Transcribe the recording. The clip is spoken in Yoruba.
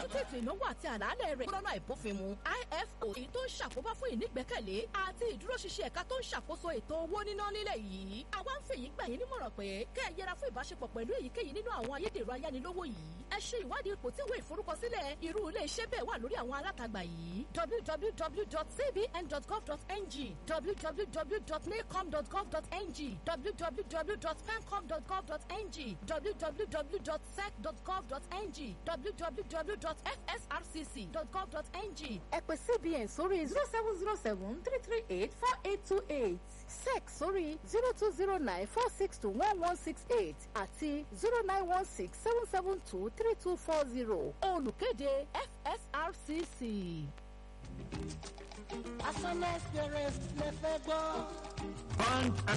Àbójútó ètò ìnáwó àti àlàálẹ̀ rẹ̀ lọ́nà àìbófinmu IFO, èyí tó ń ṣàkóbá fún ìnígbẹ́kẹ̀lé àti ìdúróṣinṣin ẹ̀ka tó ń ṣàkóso ètò owó níná nílẹ̀ yìí. Àwa ń fèyí gbà yín nímọ̀ràn pé kẹ́ ẹ yẹra fún ìbáṣepọ̀ pẹ̀lú èyíkéyìí nínú àwọn ayédèrú ayánilówó yìí. Ẹ ṣe ìwádìí ipò tí ìwé ìforúkọsílẹ̀ irú ilé iṣẹ́ bẹ́ẹ̀ wà lórí àwọn alátagbà yìí: www.cbn.gov.ng, www.nacom.gov.ng, www.pencom.gov.ng, www.sec.gov.ng, www.fsrcc.gov.ng. Ẹ pè CBN sórí 07073384828, SEC sórí 02094621168 àti 09167723240. Olùkéde, FSRCC. Asana experience lẹ fẹ́ gbọ́. Bond.